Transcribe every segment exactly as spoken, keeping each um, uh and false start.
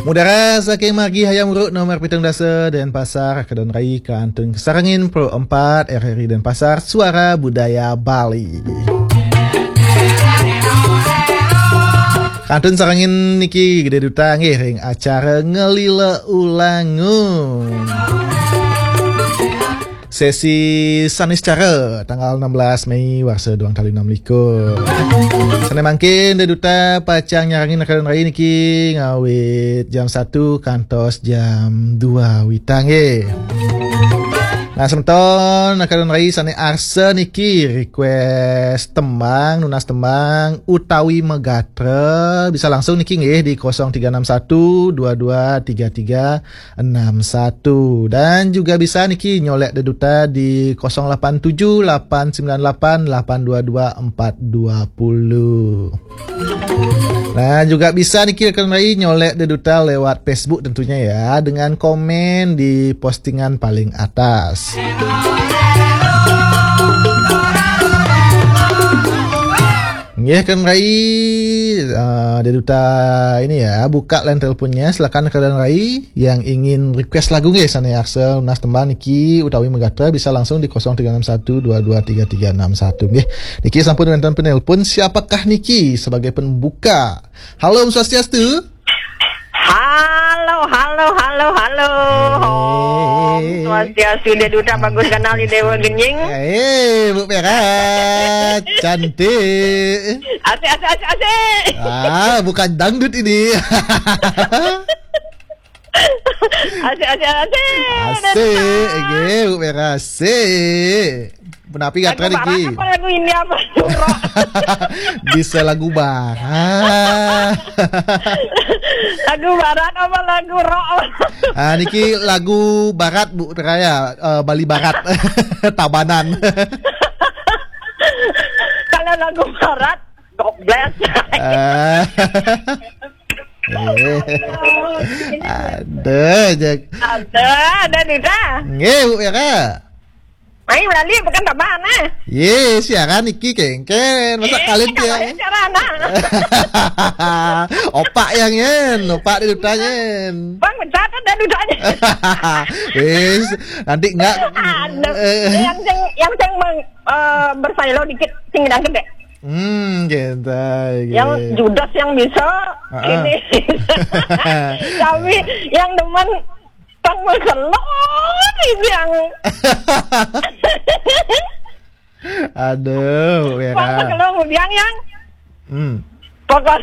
Mudara saking margi Hayam Wuruk nomor pitung dasa Denpasar, Kadon Rai kantun kasarengin Pro empat R R I Denpasar, Suara Budaya Bali. Kantun sarengin niki Gede Duta nggih ring acara Ngelila Ulangun. Sesi Saniscara tanggal enam belas Mei warsa duang tali enam likur. Sane mangkin Gede Duta pacang nyarengin Kadon Rai niki ngawit jam satu kantos jam dua wita nggih. Nah, semeton Kadon Rai sane arsa niki request tembang, nunas tembang utawi magatra, bisa langsung niki nggih di kosong tiga enam satu dua dua tiga tiga enam satu. Dan juga bisa niki nyolek Gede Duta di kosong lapan tujuh lapan sembilan lapan lapan dua dua empat dua puluh. Nah, juga bisa niki Kadon Rai nyolek Gede Duta lewat Facebook tentunya ya, dengan komen di postingan paling atas. Nggih, Kadon Rai, eh, Gede Duta ini ya, buka line teleponnya, silakan Kadon Rai yang ingin request lagu nggih, sane arsa nunas tembang niki utawi magatra bisa langsung di kosong tiga enam satu dua dua tiga tiga enam satu nggih. Niki sampun wenten penelpon, siapakah niki sebagai pembuka? Halo, Om Swastiastu. Halo, halo, halo, halo. Om Swastiastu, Gede Duta, bagus kenal di Dewa Genying. Eh, Bu Pera, cantik. Asik, asik, asik, asik. Ah, bukan dangdut ini. Asik, asik, asik. Asik, nggih, Bu Pera, asik. Punapi gatra niki? Lagu barat apa lagu India apa? Rock. Bisa lagu barat. Lagu barat apa lagu rock? Ah, niki lagu barat, Bu Raya, eh, Bali Barat. Tabanan. Kalau lagu barat, God bless. Eh. Eh. Ada aja. Ada, ada nih dah. Nggih, Bu, ya, Kak. Mai melali bukan tambahan, eh. Ye, siaran niki kengken. Masa eh, kalian dia? Siaran, ah. Opak yang nyen, opak di Duta nyen. Bang, mencatat dan Dutanya. Wis, nanti enggak. Aduh, eh. Yang yang yang meng, eh, bersailo dikit sing dan gede. Hmm, gitu. Yang judes yang bisa, ah, ah, ini. Tapi yang demen pang magelor ini yang. Aduh, ya. Pang magelor yang. Hmm. Pokok,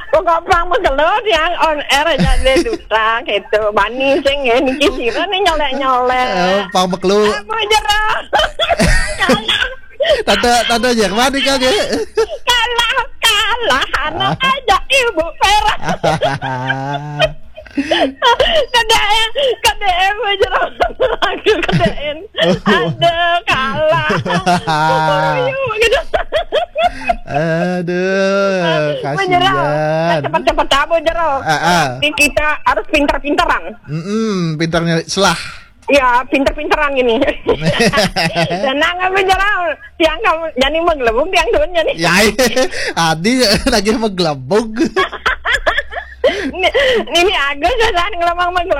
pokok pang magelor yang on air aja deh Duta gitu. Bani sing ya niki sira nih nyolek-nyolek. Eh, pang magelor. Apa jero? Tante, tante Jerman nih, Kang, ya? Kalah, kalah, anak aja Ibu Vera. Kedaen, kedaen, bujur lagu kedaen. Aduh, kalah. Kukuruyu, gitu. Aduh, kasihan. Cepat-cepat tabu, Jero. Ah, ah. Jadi kita harus pintar-pintaran. Mm-mm, pintar nyari selah. Ya, pinter-pinteran gini. Tenang, apa jalan? Tiang kamu, jadi menggelebung tiang dunia nih. Ya, iya. Adi lagi menggelebung. Ini, ini Agus ya, kan, ngelamang menggelebung.